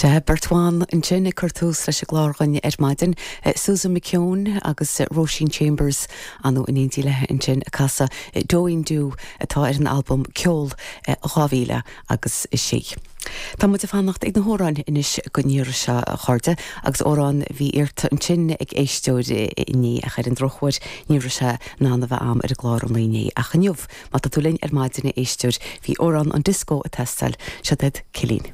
Sea, beirt bhan ansin ag cur tús leis an gclár dhúinn ar maidin, Susan McKeown agus Róisín Chambers, ar ndóigh in éindí léi ansin ag casadh Dóín Dú atá ar an albam Ceol 2000 agus 6. Tá muid ag fanacht ag na hamhráin anois don iarraidh seo, a chairde, agus amhrán a bhí iarrta ansin ag éisteoir inné ach ar an drochuair ní raibh sé in ann a bheith a'm ar an gclár an lae inné ach inniu, má tá tú linn ar maidin, a éisteoir, bhí amhrán an disco ag teastáil, seo duit Cillín.